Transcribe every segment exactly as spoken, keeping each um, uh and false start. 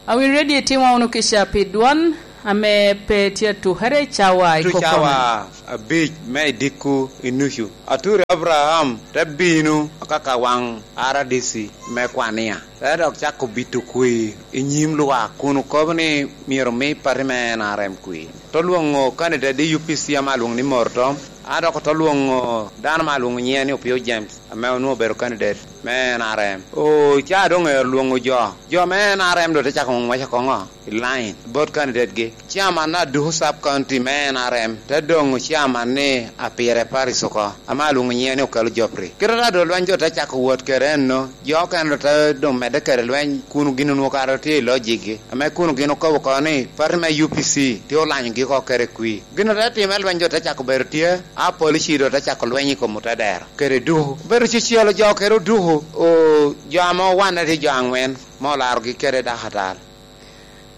Awinyo redio itimo wunu kica pi dwon ame pe tye atukere i cawa i Tucawa kokome. Abic me idikku i nucu. Aturi Abraham te bino akaka waŋ R D C me Kwania, te dok cako bito kwir i nyim lwak kun okobo ni myero omi pati me N R M kwir. Te lwoŋo kandidet i U P C ame alwoŋo ni Mortom, a dok ote lwoŋo dano ame alwoŋo nyiŋe ni Opio James, ame onwoŋo obedo kandidet me N R M. O, ca doŋ ero lwoŋo jo. Jo me N R M doŋ te cako ŋwec akoŋo i line bot kandidet-gi. Chairman na Duku Sub County me N R M te doŋo chairman ni Apire Parish oko, ame alwoŋo nyiŋe ni Okelo Jopri. Kite ta doŋ lweny doŋ te cako wot kede enno, jo okene doŋ te doŋ medde kede lweny kun gin onwoŋo kare tye i lojikgi, ame kun gin okobo oko ni pati me U P C tye olanyogi oko kede kwir. Gin te time lweny doŋ te cako bedo tye, a polici doŋ te cako lweny i kom otedero kede Duku. Obedo cecelo jo kede Oduku, o, jo ame owanne tye jo aŋwen, ma olarogi kede dakatal.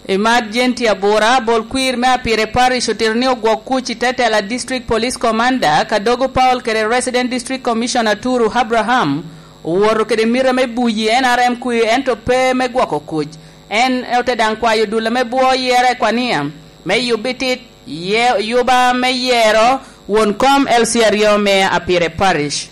Emergency abura, bol kwir me Apire Parish otito ni ogwok kuc i te tela District Police Commander, Kadogo Paul kede Resident District Commissioner Turu Abraham, owoto kede mita me buyi N R M kwir, ento pe me gwoko kuc. En ote daŋ kwayo dul ame bwo yere i Kwania me yubbi tit, ye-, yuba me yero won kom L C aryo me Apire Parish.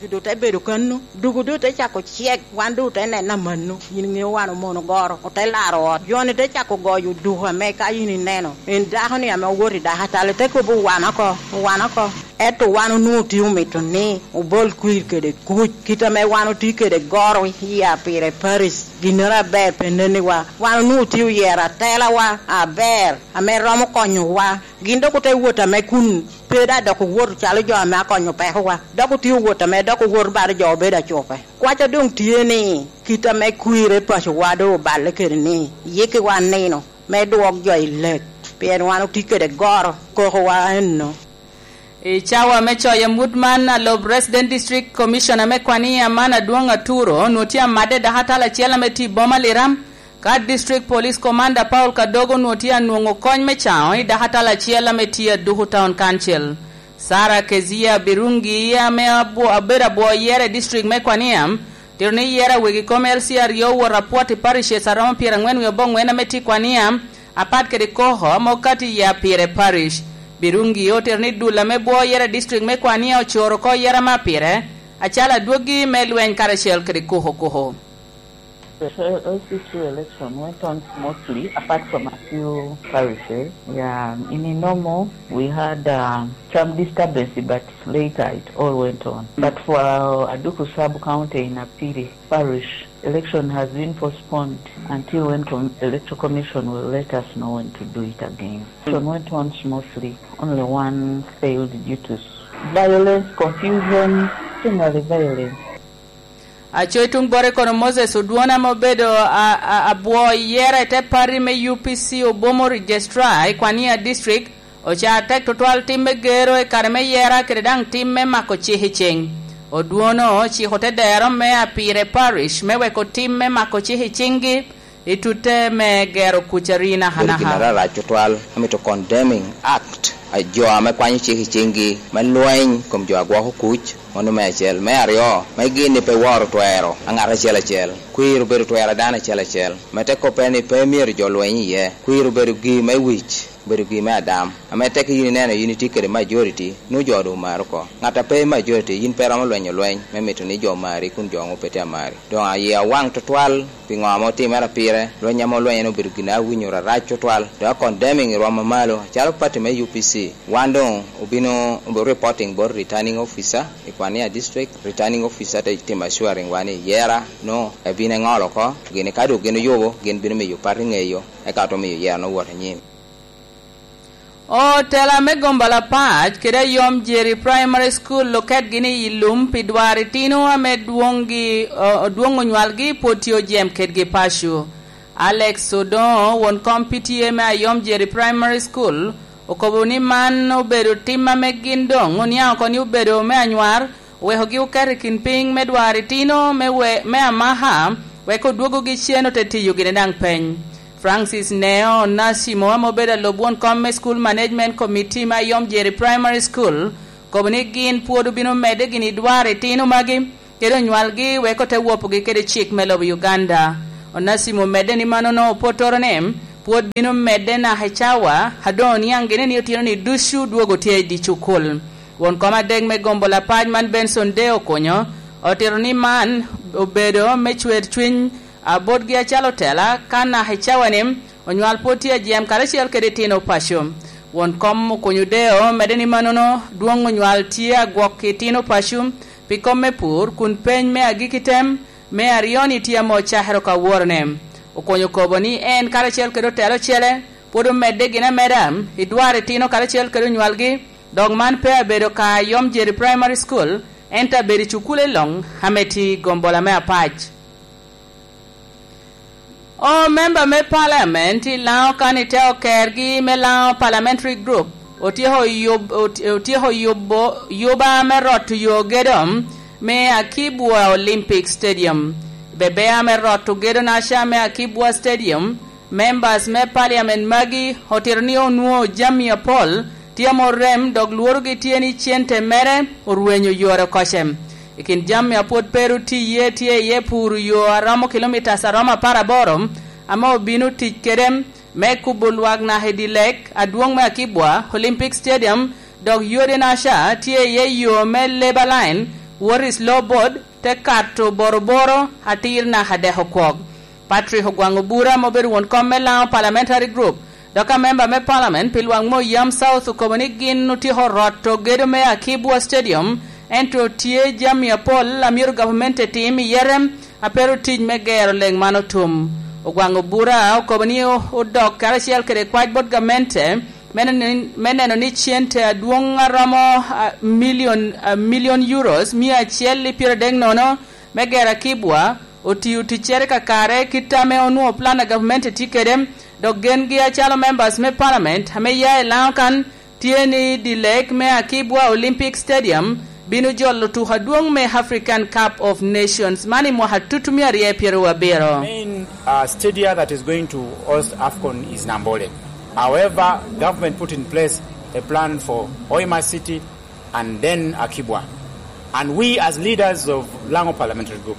Duku doŋ te bedo kannu, Duku doŋ te cako cek, wan doŋ te neno amanno. Yin iŋeo wan omono goro, ote laro ot. Jo-ni te cako goyo Duku ame ka yin ineno. En dako-ni ame owoto i dakatal, te kobo, "Owan oko, owan oko." Ento wan onwoŋo tye omito ni obol kwir kede kuc, kit ame wan otye kede goro i Apire Parish. Ginnoro aber pe nenniwa. Wan onwoŋo tye oyero atelawa aber, ame romo konyowa. Gin dok ote wot ame kun pe daŋ dok owoto calo jo ame akonyo pekowa, dok otye owot ame dok owoto balo jo obedo acupe. Kwaca doŋ tye ni, kit ame kwir i pacowa doŋ oballe kede ni, yikkiwa nino me dwok jo i lek, pien wan otye kede goro, kokowa enno. I cawa me coyo amut man, alob Resident District Commissioner me Kwania man, Adwoŋ Aturo, onwoŋo tye amadde dakatal acel ame tye i boma Liram, ka District Police Commander Paul Kadogo onwoŋo tye anwoŋo kony me caŋo i dakatal acel ame tye Aduku Town Council. Sarah Kezia Birungi, ame abwo-, abedo abwo yere i district me Kwania, tito ni yere a wegi kom L C aryo owoto apwot i parishes aromo pyerangwen wie aboŋwen ame tye i Kwania, apat kede Koko ame okato i Apire Parish. Birungi otito ni dul ame bwo yere i district me Kwania ocoro oko yere ame Apire, acalo adwoggi me lweny karacel kede Koko Koko. The L C two election went on smoothly, apart from a few parishes. Yeah, in Inomo, we had, um, some disturbance, but later it all went on. But for, uh, Aduku Sub-County in Apire Parish, election has been postponed until when com-, Electoral Commission will let us know when to do it again. Election went on smoothly, only one failed due to s-, violence, confusion, generally violence. Aco i tuŋ bote kono, Moses Odwon ame obedo a, a, abwo yere i te pati me U P C Obomo Registrar i Kwania District, oca tek tutwal tim me gero i kare me yera kede daŋ tim me mako cik i ciŋ. Odwon ociko te dero me Apire Parish me weko tim me mako cik i ciŋgi i tutte me gero kuc ari nakanaka. Bedo gin arac tutwal, amito condemning act a jo ame kwanyo cik i ciŋgi me lweny kom jo a gwoko kuc, mano me acel. Me aryo, me gin ni pe woro twero a ŋat acel acel. Kwir obedo twero a dano acel acel. Me te koppe ni pe myero jo lweny iye. Kwir obedo gii me wic, obedo gii me adam. Ame tek yin ineno yin itye kede majority, nwoŋo jo doŋ omari oko. Ŋat a pe i majority, yin pe iromo lwenyo lweny me mito ni jo omari kun jo nwoŋo pe tye amari. Doŋ aye awaŋ tutwal pi ŋo ame otimere pire, lweny ame olwenyo-ni obedo gin a awinyo rarac tutwal, doŋ a condemning i rwom mamalo, acalo party me U P C. Wan doŋ obino, obino reporting bot returning officer i Kwania District. Returning officer te timo assuring wa ni yera no ebino eŋolo oko, gini ka doŋ gin oyubo, gin bino miyo party ŋeyo, eka oto miyo yera no wot anyim. Otela me gombolopac kede Ayom Jeri Primary School oketgi ni i lum pi dwaro itino ame dwoŋgi, o-, odwoŋ onywalgi pwod tye ojem kedgi paco. Alex Odoŋo, won kom P T A me Ayom Jeri Primary School, okobo ni man obedo tim ame gin doŋ oniaŋ oko ni obedo me anywar, owekogi oketo i kin piny me dwaro itino me we-, me Amaha, wek odwogogi cen ote tiyo gini daŋ peny. Francis Neo Nasimo, ame obedo alob won kom me School Management Committee me Ayom Jeri Primary School, Okobo ni gin pwod obino medde gini dwaro itino magi, kede onywalgi wek ote wopogi kede cik me lobo Uganda. Onasimo omedde ni mannono opwottoro ni pwod bino medde naka i cawa a doŋ oniaŋ gini ni otino ni ducu dwogo tye i dye cukul. Won kom adek me gombo lapac man Benson Deo Okonyo otito ni man obedo me cwer cwiny abotgi acalo tela ka naka i cawa ni onywal pwod tye ajem karacel kede itino paco. Won kom Okonyo Deo omedde ni mannono dwoŋ onywal tye agwok i itino paco pi kom me pur kun peny me agikki tem me aryo-ni tye ame ocakere ka woro ne. Okonyo okobo ni en karacel kede otelo ocele pwod omedde gin ameda i dwaro itino karacel kede onywalgi, dok man pe abedo ka a Yom Jerry Primary School, ento abedo i cukule luŋ ame tye i gombola me apac. O memba me paliament i Laŋo kan i te okergi me Laŋo Parliamentary Group otyeko yub-, ot-, otyeko yubo yuba me roto yo gedo me Akibwa Olympic Stadium. Bebea me roto gedo naca me Akibwa Stadium, members me paliament magi otito ni onwoŋo jami apol tye ame orem dok lworogi tye ni cente mere orwenyo yore okoce. I kin jami a pwod pe ru tye iye tye iye puro yo a romo kilomitas a romo apar aboro ame obino tic kede me kubo lwak naka i dye lek adwoŋ me Akibwa Olympic Stadium, dok yode naca tye iye yo me Labour Line, wot i Slow Board, te kato Boroboro atir naka dek okwok. Patrick Ogwaŋ Obura ame obedo won kom me Laŋo Parliamentary Group, dok a memba me Parliament pi lwak me Oyam South okobo ni gin otyeko roto gedo me Akibwa Stadium, ento tye jami apol a myero gavumenti etim i yete a pe ru tic me gero leŋ man otum. Ogwaŋ Obura okobo ni o-, odok karacel kede kwac bot gamente me neno ni, me neno ni cente adwoŋ a romo, a, milion, a, milion euros mia acel i pyeradek nono me gero Akibwa otiyo ticcere kakare kit ame onwoŋo plan a gavumenti tye kede, dok gengi acalo members me parliament ame ya i Laŋo kan tye ni dye lek me Akibwa Olympic Stadium bino jolo tuko adwoŋ me African Cup of Nations man i mwaka tutumia aryo pyeraryo abiro. Main, uh, stadia that is going to host AFCON is Nambole. However, government put in place a plan for Hoima City and then Akibwa. And we, as leaders of Laŋo Parliamentary Group,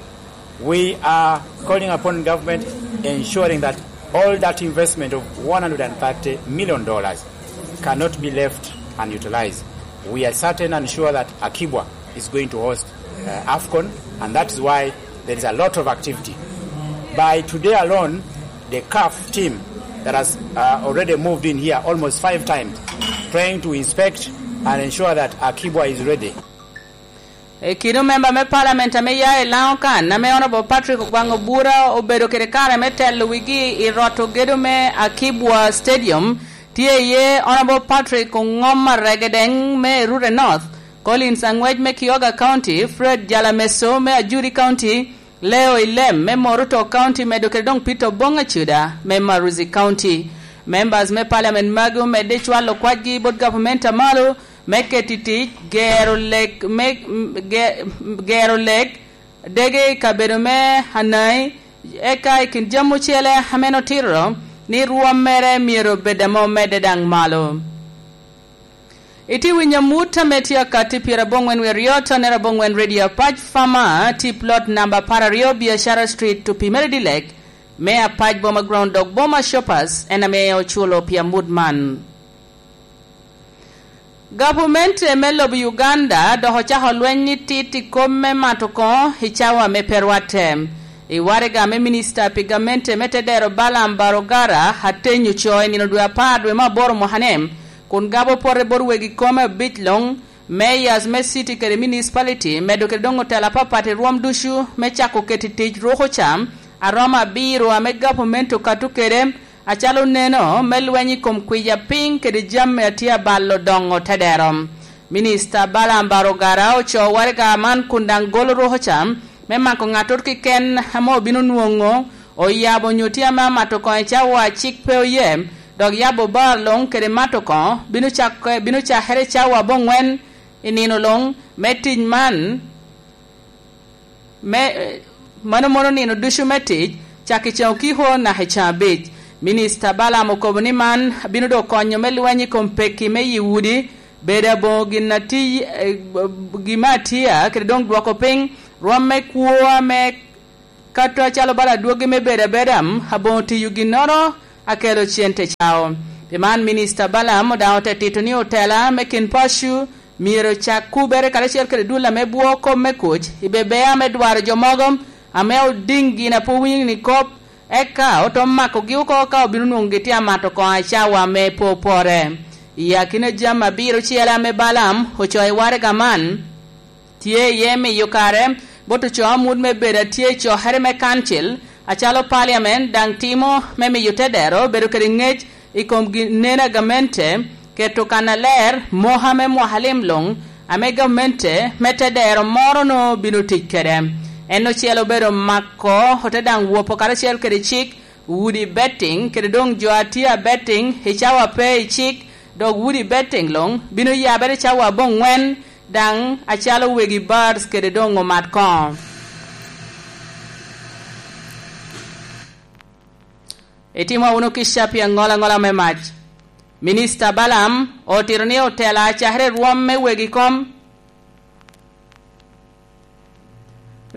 we are calling upon government ensuring that all that investment of one hundred and thirty million dollars cannot be left unutilized. We are certain and sure that Akibwa is going to host, uh, AFCON, and that is why there is a lot of activity. By today alone, the CAF team that has, uh, already moved in here almost five times, trying to inspect and ensure that Akibwa is ready. I kino memba me parliament ame ya i Laŋo kan, ame Honorable Patrick Ogwaŋ Obura obedo kede kare me telo wigi i roto gedo me Akibwa Stadium, tye iye Honorable Patrick Oŋom Aregedeŋ me Rure North, Collins Aŋwec me Kioga County, Fred Jalameso me Ajuri County, Leo Ilem me Moruto County, medo kede doŋ Peter Oboŋ Acuda me Maruzi County. Members me parliament magi omedde cwalo kwacgi bot gavumenti a malo me keto i tic gero lek me, ge-, gero lek dege i kabedo me Anai, eka i kin jami ocele ame en otito ni rwom mere myero obed ame omedde daŋ malo. Itye winyo amut ame tye akatti pyeraboŋwen wie aryo, tonere aboŋwen Radio Apac Fama, tip lot namba apar aryo, Biashara Street, Tupimere Dilek, me Apac Boma Ground, dok Boma Shoppers en ame oculo pi amut man. Gavumenti me lobo Uganda dok ocako lweny ni tit i kom me mato koŋo i cawa me pe rwatte. I waraga me minista pi gamente me tedero Balaam Barogara atenyo co i nino dwe apar dwe me aboro mwaka-ni, kun gabo pote bot wegi kome abic luŋ, mayors me city kede municipality, medo kede doŋ otelo apapat i rwom ducu me cako keto i tic ruko ca, a romo abiro ame gavumenti okato kede, acalo neno me lweny i kom kwiya piny kede jami a tye abalo doŋo tedero. Minista Balaam Barogara ocoo waraga man kun daŋ golo ruko ca me mako ŋattoro keken ame obino nwoŋo oyabo onyo tye ame amato koŋ i cawa a cik pe oye, dok yabo bar luŋ kede mato koŋ bino cak-, bino cakere i cawa aboŋwen i nino luŋ me tic man. Me, mano mono nino ducu me tic, cak i ceŋ okiko naka i ceŋ abic. Minista Balaam okobo ni man bino doŋ konyo me lweny i kom pekki me yi udi, Bedo aboŋo gin ati-, eh, gin me atia, kede doŋ dwoko piny rwom me kwo ame kato acalo bala adwogi me bedo abeda, aboŋo tiyo ginnoro akelo cente cao. Pi man, Minista Balaam daŋ ote tito ni otela me kin paco myero cak kubere karacel kede dul ame bwo kop me kuc i bebea me dwaro jo mogo ame odiŋ gin a pwod winyo ni kop, eka oto makogi oko ka obino nwoŋo gitye amato koŋ acawa me pwopwore. I akina jami abiro ocele ame Balaam ocoo i waraga man, tye iye miyo kare bot ocoo amut me bedo atye i cokere me kancil, acalo paliamen daŋ timo me miyo te dero bedo kede ŋec i kom gin-, neno a gamente, keto kannaler moko ame mwaka lim luŋ ame gamente me te dero moro-nu bino tic kede. En ocele obedo mako, ote daŋ wopo karacel kede cik, udi betting, kede doŋ jo a tye a betting i cawa pe i cik, dok udi betting luŋ bino yabere cawa aboŋwen, daŋ acalo wegi bars kede doŋ omat koŋo. Itimo wunu kica pi aŋola aŋola me mac. Minista Balaam otito ni otela cakere rwom me wegi kom.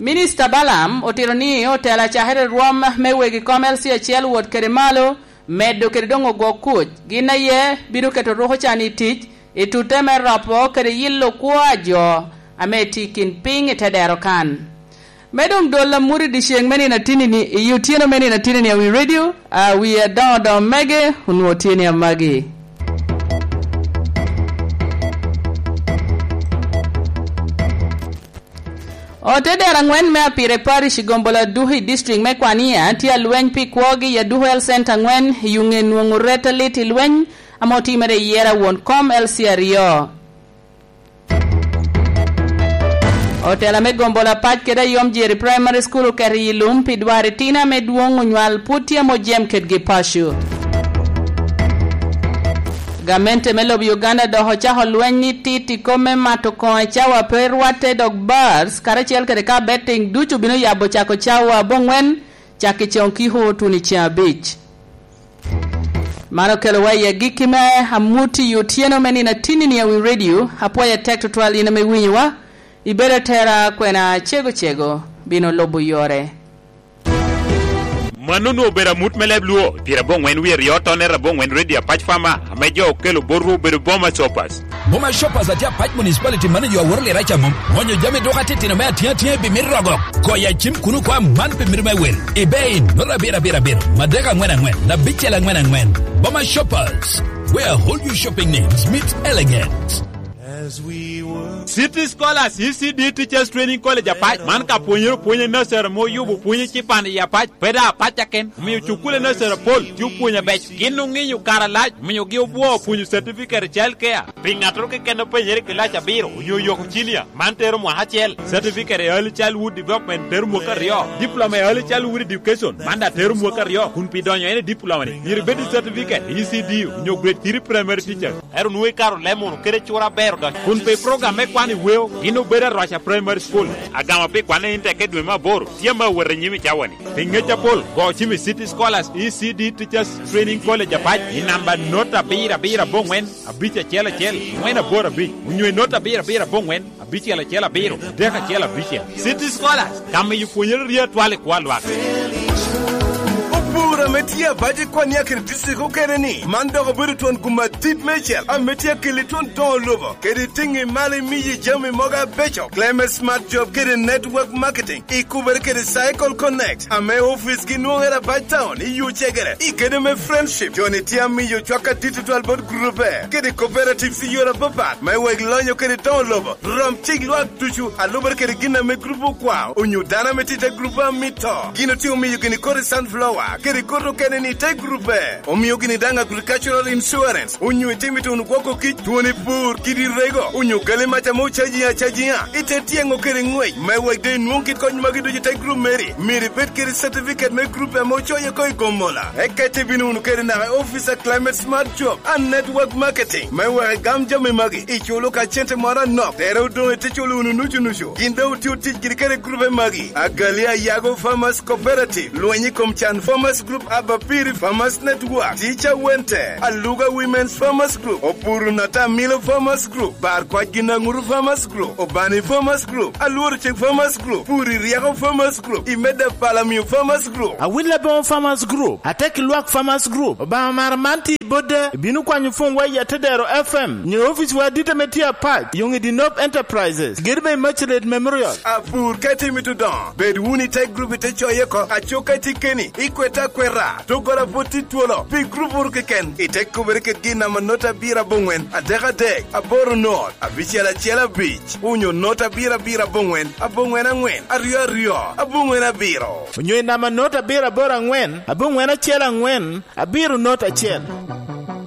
Minista Balaam otito ni otela cakere rwom me wegi kom L C acel wot kede malo, medo kede doŋ ogwok kuc, gin aye bino keto ruko can i tic i tutte me ropo kede yilo kwo a jo ame tye i kin piny i te dero kan. Me doŋ dol amut i dyeceŋ me nino atinini, i otyeno me nino atinini, awi redio, awi adoŋo doŋ mege, onwoŋo tye ni amagi. Ote dero aŋwen me Apire Parish i Gombola Aduku i district me Kwania tye alweny pi kwogi i Aduku Health Center aŋwen i ŋe nwoŋo ret alit i lweny ame otimere i yera won kom L C aryo. Otela me Gombola Pac kede Ayom Jeri Primary School oketo i lum pi dwaro itino ame dwoŋ onywal pwod tye ame ojem kedgi paco. Gamente me lobo Uganda dok ocako lweny ni tit i kom me mato koŋ i cawa pe rwatte dok bars karacel kede ka betting ducu bino yabo cako cawa aboŋwen, cak i coŋ kiko tuno i ceŋ abic. Man okelowa i agikki me amut i otyeno me nino atinini awi redio. Apwoyo atek tutwal in ame winyowa. Ibedo atera kwena cego cego bino lubo yore. Mano onwoŋo obedo amut me leb Luo, pire aboŋwen wie aryo tonere aboŋwen Radio Apac Farmer, ame jo okelo botwu obedo Boma Shoppers. Boma Shoppers atye Apac Municipality, mano jo aworo lira ca mom. Onyo jami dok atitino me atiŋ atiŋ i bi mit rogo. Koya cim kuno kwa man pe mito me wel. Ibe in, nota abiro abiro abiro, madek aŋwen aŋwen, abicel aŋwen aŋwen. Boma Shoppers, where all your shopping needs meet elegant. City Scholars, E C D Teachers Training College Apac, man ka pwonyere opwony i nursery ame oyubo pwony ecipan i Apac, pe daŋ Apac aken, omio cukule nursery apol tye opwonyo abeco. Gin oŋinyo kare alac, omiogi obwoo opwonyo certificate i child care. Pi ŋattoro keken openyere i kilac abiro onyo oyoko cinia, man tero mwaka acel. Certificate i Early Childhood Development tero mwaka aryo. Diploma i Early Childhood Education, man daŋ tero mwaka aryo. Kun pi donyo en i diploma-ni, myero ibed i certificate i E C D onyo grade three primary teacher. Ero nwoŋo ikaro lemo wunu kede cura aber odoc. Kun pi program me kwan i weo, gin obedo Arwaca Primary School, agama pi kwanne in tekke dwe me aboro, tye ame awot i nyim i cawa-ni. Pi ŋec apol, go cim i City Scholars E C D Teachers Training College Apac i namba not abiro abiro aboŋwen, abic acel acel, ŋwen aboro abic, onyo i not abiro abiro aboŋwen, abicel acel abiro, adek acel abicel. City Scholars, ka miyo pwonyere rye atwal i kwo a lwak. Opur ame tye abac i Kwania kede district okene ni, man dok obedo twon gum adit meicel ame tye akeli twon doŋo lobo kede tiŋi malo imiyi jami mogo abeco. Clement Smart Job kede Network Marketing ikubere kede Cycle Connect, ame ofice gi nwoŋere Abac Town i yo cegere i gedo me Friendship. Joni tye amiyo cwak adit tutwal bot grube kede cooperatives i yore apapat me wek lonyo kede doŋo lobo. Rom cik lwak ducu a lubere kede gin ame grup okwao, onyo dano ame tye i te grup a mito. Gin otye omiyo gini koti sunflower kede koti okene ni i te grupe. Omio gini daŋ agricultural insurance, onyo itimo ituno gwoko kic, twoni pur, kidi rego, onyo gali mac ame ocaji acajiŋa i te tyeŋo kede ŋwec. Me wek doŋ inwoŋ kit kony magi ducu i te grup meri, myero ibed kede certificate me grup ame ocoye oko i Gomola. Eka itye bino wunu kede naka i office a Climate Smart Job and Network Marketing. Me wek igam jami magi, iculo ka cente moro anok, tere odoŋ ite culo wunu nucu nucu. Gin doŋ otye otic giri kede grupe magi: Agali Ayago Farmers Cooperative, lweny i kom can Farmers Farmers Group, Abapiri Farmers Network, Teacher Wente, Aluga Women's Farmers Group, Opuru Natamilo Farmers Group, Bar Kwac Ginaŋuru Farmers Group, Obani Farmers Group, Alworo Cik Farmers Group, Puri Rieko Farmers Group, Imeda Palamio Farmers Group. Awil Aboŋo Farmers Group, Atek Lwak Farmers Group, Obaŋa Mara man tye i Bodda, ibino kwanyo pwonwa i Atedero F M, nyo ofici wa adit ame tye apac, yoŋ i Dinop Enterprises, gedo me Immaculate Memorial. Apur ka itimo i Tudong, bed wunu i te grup i te coye oko, aco ka itye keni, ikwete akweta, doggola pwod tye twolo, pi grup wunu keken, ite kubere kit gin namba not abiro aboŋwen, adek adek, aboro not, abicel acel abic, onyo not abiro abiro aboŋwen, aboŋwen aŋwen, aryo aryo, aboŋwen abiro. Onyo i namba not abiro aboro aŋwen, aboŋwen acel aŋwen, abiro not acel.